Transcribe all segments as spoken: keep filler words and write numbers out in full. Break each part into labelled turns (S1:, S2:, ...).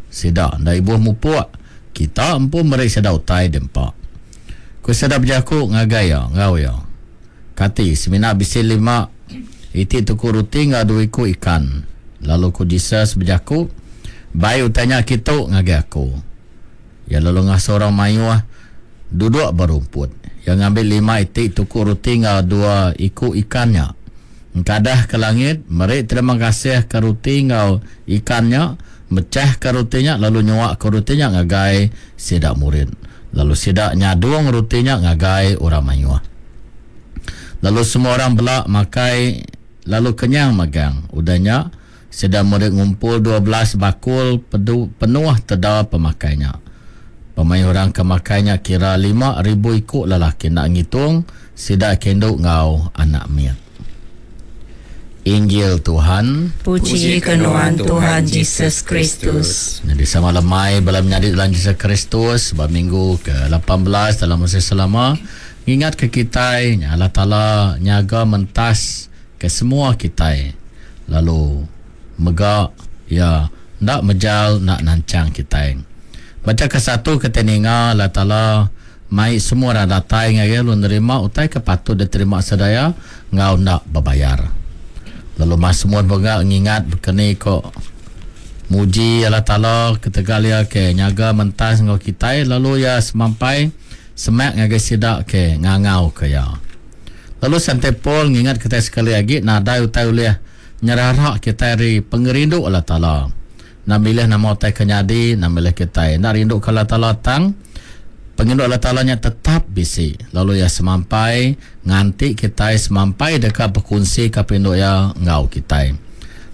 S1: Sida enda ibuh mupuk. Kita empu meri sida utai diempa. Ku sida bejaku ngagai iya enggau iya, Kati semina bisi lima iti tuku ruti enggau dua iku ikan? Lalu ku Jesus bejaku, Bai utai nya kitu ngagai aku. Iya lalu ngasuh orang mayuh duduk ba rumput. Iya ngambi lima iti tuku ruti enggau dua iku ikan nya, engkadah ke langit, meri terima kasih ke ruti enggau ikan nya, mechahka ruti nya lalu nyuaka ruti nya ngagai sida murid. Lalu sida nyadung ruti nya ngagai orang mayuh. Lalu semua orang bela makai lalu kenyang magang. Udah nya, sida murid ngumpul dua belas bakul penuh teda pemakai nya. Pemayuh orang ke makai nya kira lima ribu iku lelaki enda ngitung sida ke indu enggau anak mit. Injil Tuhan.
S2: Puji ke nuan Tuhan Jesus Kristus.
S1: Jadi sama lemai bala menyadi dalam Jesus Kristus ba minggu ke lapan belas dalam musim selama ngingat ke kitai Allah Taala nyaga mentas ke semua kitai lalu mega ya ndak mejal nak nancang kitai. Baca ke satu kita ninga Allah Taala mai semua orang datai ngagai lalu nerima utai ke patut diterima sedaya ngau ndak berbayar. Lalu mas semua mega ngingat bekeni ko muji Allah Taala ketegal ia ke nyaga mentas ngau kitai lalu ia semampai semak ngagai sida ke ngangau ke ia. Lalu Saint Paul ngingat kita sekali lagi nadai utai ulih nyerarak kita dari pengerindu Allah Taala. Nak milih nama utai ke nyadi, nak milih kita. Nak rindu ke Allah Taala tang pengerindu Allah Taala nya tetap bisi. Lalu ia semampai nganti kita semampai dekat berkongsi ke perindu ia ngau kita.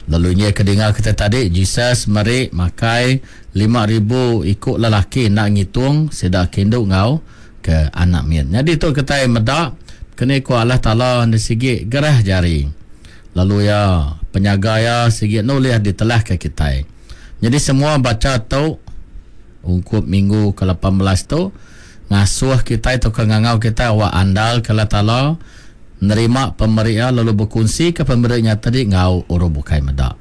S1: Lalu ini kedengar kita tadi Jesus meri makai lima ribu ikut lelaki nak ngitung sida kindu ngau ke anak mit. Jadi tu kita medak kena ku Allah Taala di sigi gerah jari. Lalu ya penyaga ya sigi nulih ditelah ke kita. Jadi semua baca tu ungkup minggu ke lapan belas tu ngasuh kita atau ke ngangau kita awak andal ke Allah Taala nerima pemerian lalu berkongsi ke pemeriannya tadi ngau orang bukai medak.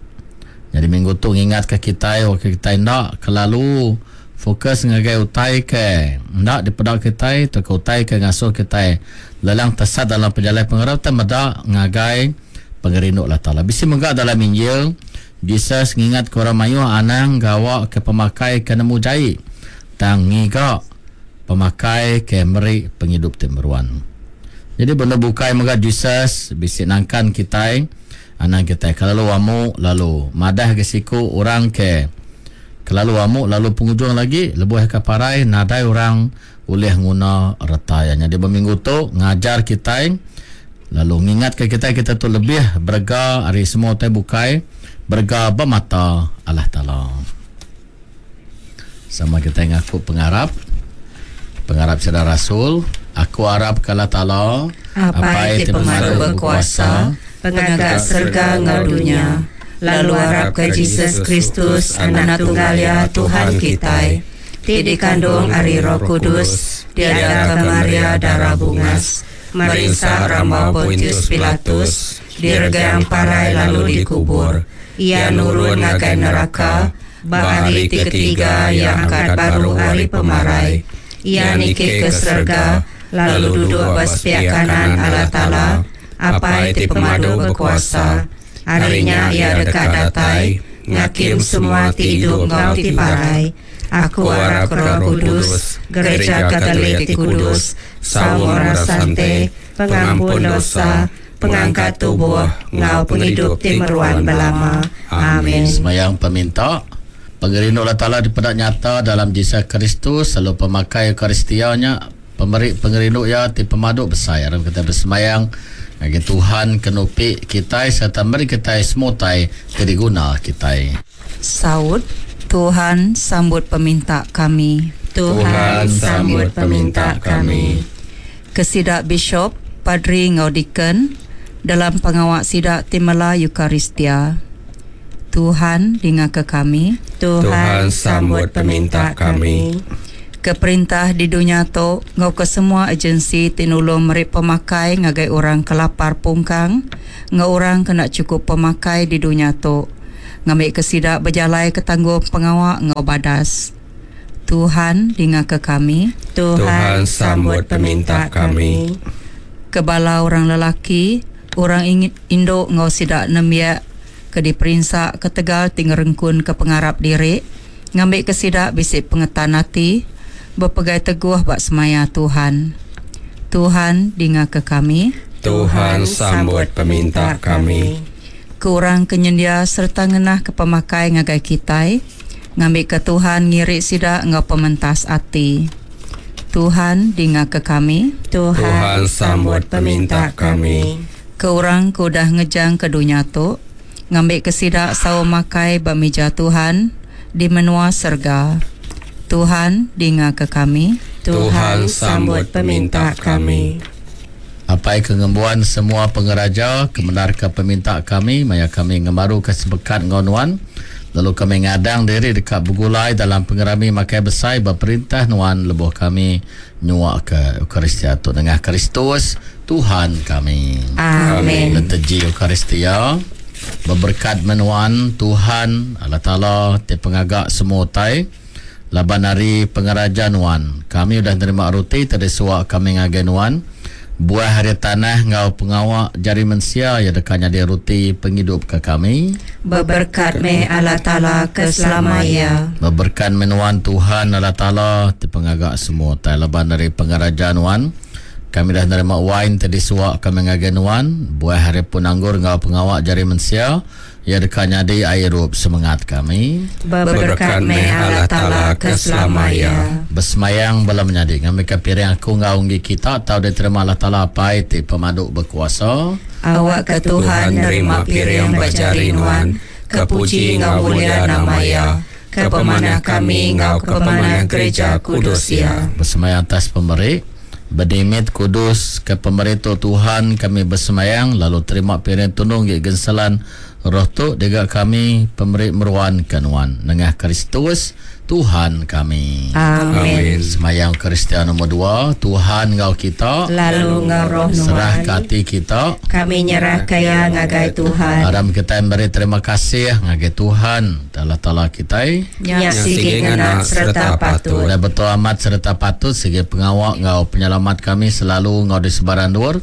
S1: Jadi minggu tu ngingat ke kita awak kita ndak kelalu fokus ngagai utai ke ndak dipedak kita atau ke utai ke ngasuh kita lelang tesat dalam perjalanan pengarap ta medak ngagai pengerindu Allah Taala. Bisi mega dalam Injil Jesus ngingat ke orang mayuh anang gawa ke pemakai ke nemu jai tang ngiga pemakai ke meri penghidup ti meruan. Jadi benda bukai mega Jesus bisi nangkan kitai anang kitai kelalu amu lalu madah ke siku orang ke kelalu amu lalu penghujung lagi lebuh ke parai nadai orang ulih nguna reta ya. Jadi berminggu tu ngajar kitai lalu ngingat ke kitai kita tu lebih berega ari semua utai bukai berega ba mata Allah Taala. Sama kita ngaku pengarap pengarap saudara Rasul, aku arap ke Allah Taala
S2: Apai ti pemadu berkuasa, pengaga serga enggau dunia, lalu arap ke Jesus Kristus anak tunggal ya Tuhan kita, ti dikandung ari Roh Kudus, diadaka Maria darah bungas, merinsa rambau Pontius Pilatus, diregang parai lalu dikubur. Ia nurun ngagai neraka, ba hari ti ketiga ia angkat baru hari pemarai. Ia niki ke serga, lalu duduk ba sepiak kanan Allah Taala, Apai ti pemadu berkuasa. Harinya ia dekat datai, ngakim semua ti hidup enggau ti parai. Aku arap ke Roh Kudus, Gereja Katolik ti Kudus, saum orang sante, pengampun dosa, pengangkat tubuh, ngau penghidup ti meruan belama. Amin.
S1: Semayang peminta pengerindu Allah Taala dipedak nyata dalam Jesus Kristus, lalu pemakai Eucharistia-nya pemeri pengerindu ia ti pemadu besar. Aram kita bersemayang ngagai Tuhan kenupi kita serta meri kita semua utai ti diguna kita.
S3: Saut Tuhan sambut peminta kami.
S2: Tuhan sambut peminta kami.
S3: Kesidak Bishop, Padri ngau Deacon dalam pengawak sidak timela Eucharistia. Tuhan dengar ke kami.
S2: Tuhan sambut peminta kami.
S3: Ke perintah di dunia tu ngau ke semua agensi tinulung meri pemakai ngagai orang kelapar pungkang ngau orang kena cukup pemakai di dunia tu. Ngambi ke sida berjalai ke tanggung pengawa ngau badas. Tuhan dinga ke kami.
S2: Tuhan sambut peminta kami.
S3: Ke bala orang lelaki, orang induk ngau sida nembiak ke diperinsa ketegal ti ngerengkun ke pengarap diri, ngambi ke sida bisi pengetan ati, berpegai teguh bak semaya Tuhan. Tuhan dinga ke kami.
S4: Tuhan sambut peminta kami.
S3: Ke orang ke nyendia serta ngenah ke pemakai ngagai kitai, ngambi ke Tuhan ngirik sida ngau pementas ati. Tuhan dinga ke kami.
S2: Tuhan,
S4: Tuhan sambut peminta kami.
S3: Ke orang ke udah ngejang ke dunia tu, ngambi ke sida sawo makai ba meja Tuhan di menua serga. Tuhan dinga ke kami.
S4: Tuhan sambut peminta kami.
S1: Apai kengembuan semua pengeraja, kemenar ke peminta kami, maya kami ngemaru ke sebekat ngau nuan, lalu kami ngadang diri dekat bergulai dalam pengerami makai besai berperintah nuan lebuh kami nyuak ke Eucharistia tu dengan Kristus Tuhan kami.
S2: Amin.
S1: Liturgi Eucharistia berberkat menuan Tuhan Allah Taala ti pengagak semua utai laban hari pengeraja nuan. Kami udah nerima roti tadi suak kami ngagai nuan. Buah hari tanah ngau pengawak jari mensia ya dekanya dia roti penghidup ke kami.
S2: Berberkat me Allah Taala ke selamanya.
S1: Berberkat menuan Tuhan Allah Taala ti pengagak semua utai laban dari pengeraja nuan. Kami dah nerima wine tadi suak kami ngagai nuan. Buah hari pun anggur ngau pengawak jari mensia ya dekanya di air rup semangat kami.
S2: Berberkat me Allah Taala ke selamanya.
S1: Bersemayang bala menyadi ngambil ke piring aku ngau unggi kita tau diterima Allah Taala apai ti pemaduk berkuasa.
S2: Awak ke Tuhan nerima piring bajari nuan, kepuji ngau mulia nama ya, ke pemanah kami ngau ke pemanah gereja kudus ya.
S1: Bersemayang atas pemberi berdimit kudus ke pemberi tu Tuhan kami bersemayang lalu terima piring tunung gi genselan roh tu diga kami pemberi meruan ke nuan nengah Kristus Tuhan kami.
S2: Amin.
S1: Semayang Kristian nombor dua, Tuhan ngau kita
S2: lalu ngau roh nuan.
S1: Serah ke hati kita,
S2: kami nyerah kaya ngagai Tuhan.
S1: Aram kita beri terima kasih ngagai Tuhan Allah Taala kita.
S2: Nya sigi ngena serta patut.
S1: Dan betul amat serta patut segi pengawak ngau penyelamat kami selalu ngau di sebaran luar.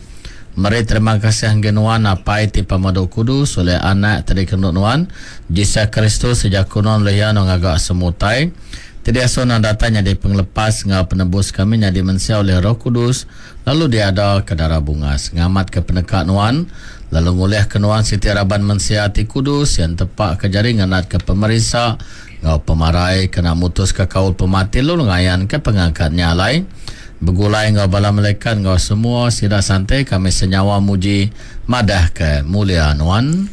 S1: Meri terima kasih hanggenuan apai ti pamadu kudus oleh anak tadi kenut nuan Jesus Kristus sejak kuno lehian ngagak semutai. Tidak asona datanya di penglepas ngau penebus kami nyadi mensia oleh Roh Kudus lalu dia ada ke darah bungas ngamat ke penekak nuan lalu ngulih ke nuan siti raban mensia ti kudus yang tepak ke jari nganat ke pemerisa ngau pemarai kena mutus ke kaul pemati lalu ngayan ke pengangkatnya alai. Begulai ngau bala malaikat ngau semua sida santai kami senyawa muji madah ke mulia nuan.